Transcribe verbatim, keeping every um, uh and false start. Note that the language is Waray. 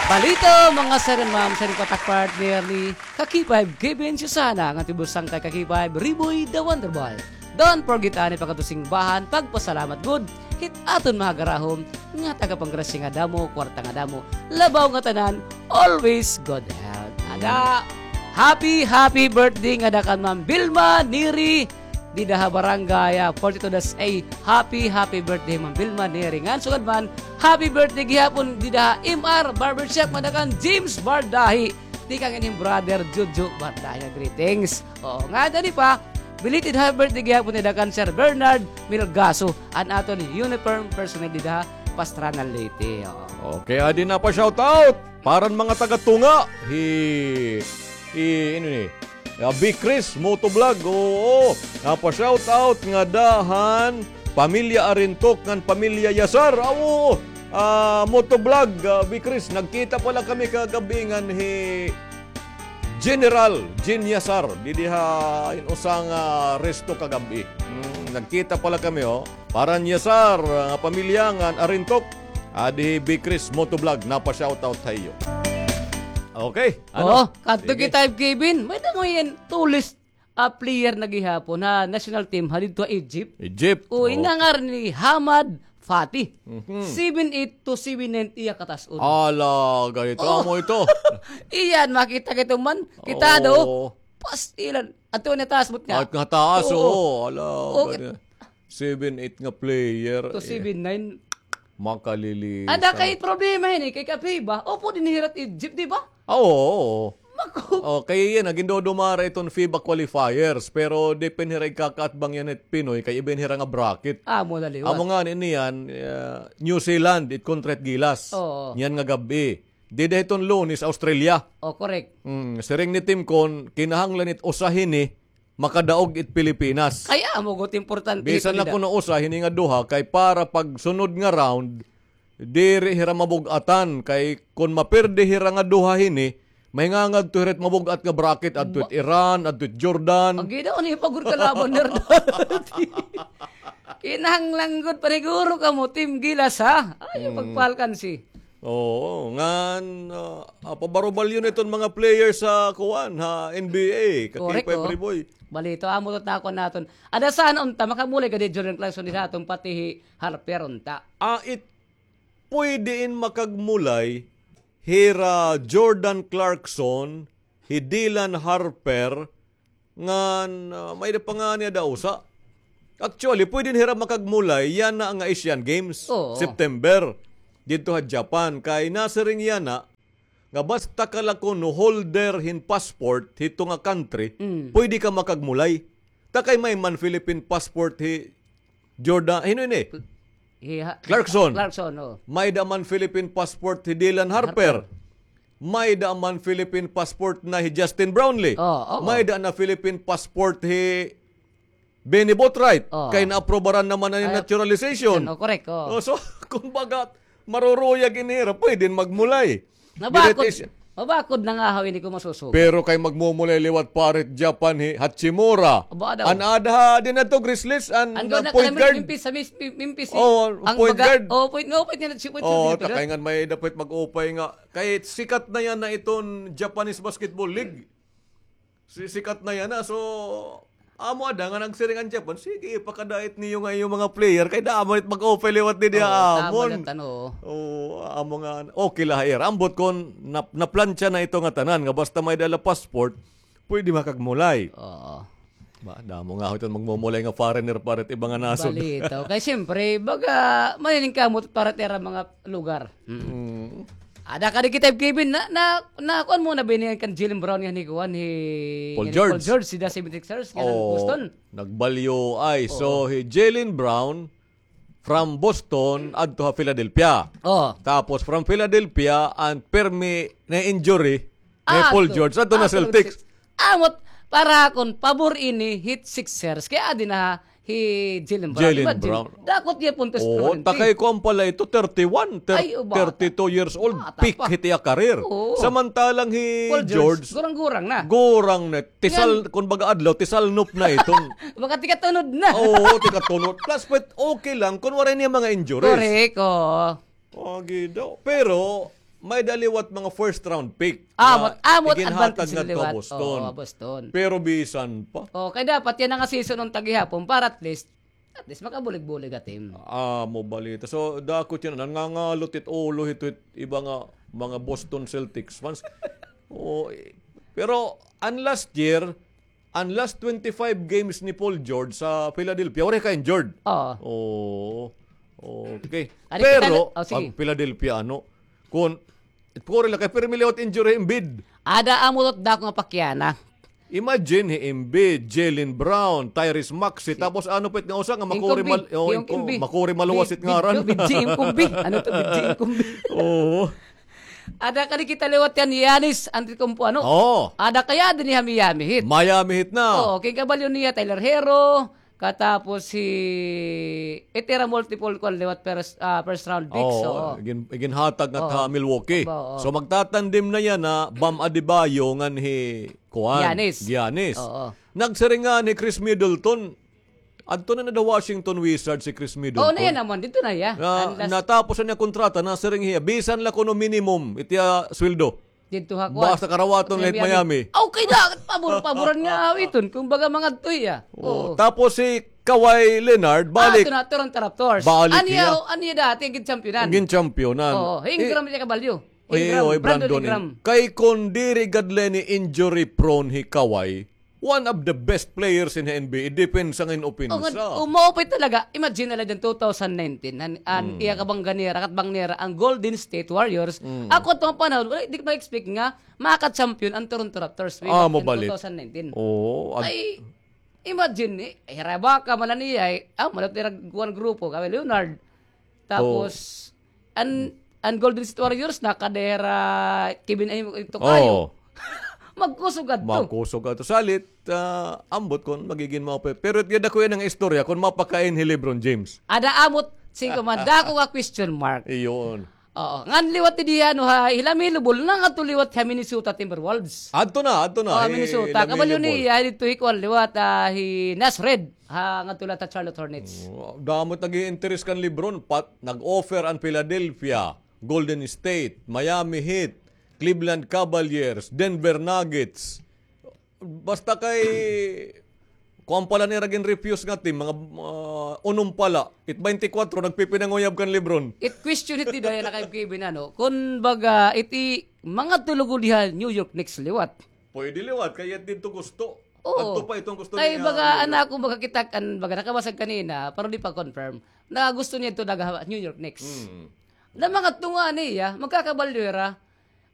Balita, mga sir and ma'am, sa ining patak partner ni Kaki Five Kevin Susana, nga tibusang kay Kaki Five Riboy the Wonder Boy. Don't forget ani pagkatusimbahan, pagpasalamat gud hit aton mga garahom nga taga-panggrasya nga damo, kwarta nga damo, labaw nga tanan, always good health. Ada, happy, happy birthday nga ada kan Ma'am Vilma Neri, dida ha barangay, ah, forty-two dash A. Happy, happy birthday, Ma'am Vilma Neri. Ngan sugad man, happy birthday gihapon dida ha M R Barbershop nga ada kan James Bardahi. Tikang ini brother Jojo Bardahi nga greetings. Oo, ngan dida pa, belated happy birthday gihapon dida kan Sir Bernard Milgaso, an aton uniform personnel dida ha Pastrana, Leyte. Oo. Okay, adi na pa shoutout. Para han mga taga-Tunga, hi, hi, ano ni, ah, B Chris Motovlog, oo. Napa-shoutout ngada han pamilya Arintok ngan pamilya Yasar. Ah, oo. Ah, Motovlog, ah, B Chris, nagkita pala kami kagab-i ngan hi General Jin Yasar, didi ha hin usa nga resto kagab-i. Hmm, nagkita pala kami, oh. Para han Yasar, ah, pamilya ngan Arintok, adi hi B Chris Motovlog, napa-shoutout ha iyo. Okay, ano? Oo, kadto kita, Kevin. May-ada man hin tallest, ah, player na gihapon ha national team ha didto ha Egypt. Egypt, oo. Ina ngaran ni Hamad Fatih. Mhm. Seven eight to seven nine iya katas-on. Ala, ganito amo ito. Iyan, makita kito man. Kita do. Oo. Pastilan. Ato na taas mo niya. At nga taas, oo. Ala, ganito. Seven eight nga player. To seven nine. Makalilisan. Ada kay problema hini, kay ka FIBA. Upo dinhi hira hit Egypt, di ba? Oo, oo. Maku- Oh, kay iyan, nagindodumara iton FIBA qualifiers, pero di pa hira igkakaatbang yana hit Pinoy, kay iba hira nga bracket. Amo na liwat. Amo ngani niyan, ah, New Zealand, it kontra hit Gilas. Oo. Niyan nga gab-i. Dida hiton Lunes, Australia. Oh, correct. Mm, siring ni Tim Con, kinahanglan it usa hini, makadaog it Pilipinas. Kay amo gud importante. Bisan na kuno usa hini nga duha, kay para pagsunod nga round, diri hira mabug-atan, kay kon maperde hira nga duha hini, mahingangadto hira hit mabug-at nga bracket, adto it Iran, adto it Jordan. Ang ginaon ni pagod kalaban nira. Kinahanglan gud paniguro kamo, Team Gilas, ha? Ayaw pagpalkan si. Oo, ngan, ah, ah, pabarubalyo na iton mga players sa kuan, ha, N B A. Correct, Kakipay, oh. Balito, amo to takon naton. Ada sana unta, makamulay gad hi Jordan Clarkson dida ha aton pati hi Harper unta. Ah, it, pwede in makagmulay, hira Jordan Clarkson, hi Dylan Harper, ngan, ah, may-ada pa ngani ada usa. Actually, pwede hira makagmulay yana nga Asian Games, oo, September, didto ha Japan. Kay nasiring yana nga basta ka la kuno holder hin passport hito nga country, mm, pwede ka makagmulay. Ta kay may man Philippine passport hi Jordan, hino ini? Hi ha-, Clarkson. Clarkson, oh. May-ada man Philippine passport hi Dylan Harper. Harper. May-ada man Philippine passport na hi Justin Brownlee. Oh, oo. May-ada na Philippine passport hi Benny Boatwright. Oh. Kay naaprobaran naman na hin naturalization. Ay, oh, correct, oh. Oh, so, kumbaga, maruruyag ini hira, pwede magmulay. Mabakod, mabakod na nga haw ini kon masusuko. Pero kay magmumulay liwat para hit Japan hi Hachimura. Aba, daw. An ada ha, dinhi adto Grizzlies, an, an, ah, point guard. Memphis, sa Mis-, Mem-, Memphis, oh, an point guard. Oh, point, no, point niya, point niya, oh, ta kay ngan may dapat mag-upay nga. Kay sikat na yana iton Japanese Basketball League. Si-, sikat na yana. So, amo ada nga nagsiring an Japan, sige, ipakadait niyo nga iyo mga player, kay damo it mag-upay liwat dinhi ha amon. Oo, tama na tan-o. Oo, amo nga, okay la ha ira. Ambot kon nap-, naplantsa na ito nga tanan, nga basta may dala passport, pwede makagmulay. Oo. Ba, damo nga ho iton magmumulay nga foreigner para it iba nga nasod. Balito. Kay siyempre, baga, maniningkamot para it ira mga lugar. Mm. Mm. Ada ka di kita, Kevin, na, na, na, kuan mo na ba ini kan Jaylen Brown nga ni kuan, hi, Paul George. Paul George, dida seventy-sixers, nga Boston. Nagbalyo ay. Oo. So, hi Jaylen Brown, from Boston, adto ha Philadelphia. Oo. Tapos, from Philadelphia, an pirmi na injury, ni Paul George, adto na Celtics. Amot, para akon, pabor ini hit Sixers. Kay adi na hi Jaylen Brown. Jaylen Brown. Imagine, dakot niya puntos permanente. Oo, ta kay kuan pala ito, thirty-one, thir-, thirty-two years old, peak hit iya career. Oo. Samantalang hi Paul George, gurang-gurang na. Gurang na. Tisal, kun baga adlaw, tisalnop na iton. Baka tikatunod na. Oo, tikatunod. Plus, pwet, okay lang kun waray niya mga injuries. Correct, oo. Agi daw. Pero, may-ada liwat mga first round pick. Ah, nga amot, amot iginhatag advantage ngadto ha liwat. Boston. Oo, Boston. Pero bisan pa. Oh, kay dapat yana nga season an tagihapon para at least, at least makabulig-bulig ha team. Ah, amo balita. So, dako it yana, nangangalot it ulo hito it iba nga mga Boston Celtics fans. Oh, eh, pero an last year, an last twenty-five games ni Paul George sa Philadelphia, waray ka-injured. Oo. Oo. Okay. Pero, oh, sige, an Philadelphia, ano, kun, it puri la kay pirmi liwat injury hi Embiid. Ada amo it dako nga pakiana. Imagine, hi Embiid, Jaylen Brown, Tyrese Maxey, tapos ano pa it nga usa nga makuri mal-, oh, makuri maluwas it ngaran. Bidji Inkumbi. Ano to, Bidji Inkumbi? Oo. Ada kadi kita liwat yana, Giannis Antetokounmpo, ano? Oo. Ada kaya dinhi ha Miami Heat. Miami Heat na. Oo, kay kabalyo niya Tyler Herro, katapos hi, it ira multiple kuan liwat first, ah, first round picks. Oo, oo. Igin-, iginhatag ngadto ha Milwaukee. Opo, oo. So magtatandem na yana Bam Adebayo ngan hi kuan, Giannis. Giannis. Oo. Nagsiring ngani hi Khris Middleton, adto na ngada Washington Wizards hi Khris Middleton. Oh, na yana man, didto na hiya. Na, natapos na an iya kontrata, nasiring hiya, bisan la kuno minimum it iya sweldo. Didto ha kuan. Basta karawaton la hit Miami. Miami. Okay na, pabor-paboran nga iton, kumbaga mangadto hiya. Oo. Tapos hi Kawhi Leonard, balik. Ah, adto na, Toronto Raptors. Balik hiya. An iya dati, an ginchampyonan. An ginchampyonan. Oo, hi Ingram iya kabalyo. Ingram, Brandon Ingram. Kay kon diri gad la ini injury prone hi Kawhi, one of the best players in N B A, depensa ngan opensa. O, nga, umaupay talaga. Imagine na la dyan, two thousand nineteen, an, an iya kabangga nira, katbang nira, an Golden State Warriors. Ako, adto nga panahon, wala, di ko ma-expect nga makaka-champion an Toronto Raptors way back in two thousand nineteen. Oo. Ay, imagine, eh, hira Ibaka man la niya, eh, ah, malat nira kuan grupo, Kawhi Leonard. Tapos, an, an Golden State Warriors, nakada hira Kevin, ay, ito kayo. Oo. Magkusog adto. Magkusog adto. Salit, ah, ambot kon magigin maupay. Pero it gad ako yana nga istorya, kon mapakain hi LeBron James. Ada amot, singko man, dako nga question mark. Iyon. Oo. Ngan liwat didi, ano, ha, hi LaMelo Ball, nangadto liwat ha Minnesota Timberwolves. Adto na, adto na. Oh, Minnesota. Kabalyo niya, didto hi kuan liwat, ah, hi Naz Reid. Ha, ngadto la ha Charlotte Hornets. Oh, damo it nag-i-interest kan LeBron, pat nag-offer an Philadelphia, Golden State, Miami Heat, Cleveland Cavaliers, Denver Nuggets. Basta kay, kuan pa la nira gin-refuse nga team, mga, ah, unom pa la. It twenty-four, nagpipinanguyab kan LeBron. It question it dida yana kay Kevin, ano, kun baga, iti, mangadto lugod ha New York Knicks liwat. Pwede liwat, kay it didto gusto. Oo. Adto pa iton gusto niya. Kay baga, an ako baga kita, an baga nakabasag kanina, pero di pa confirm, na gusto niya ito daga New York Knicks. Hmm. Na mangadto ngani hiya, magkakabalyo hira.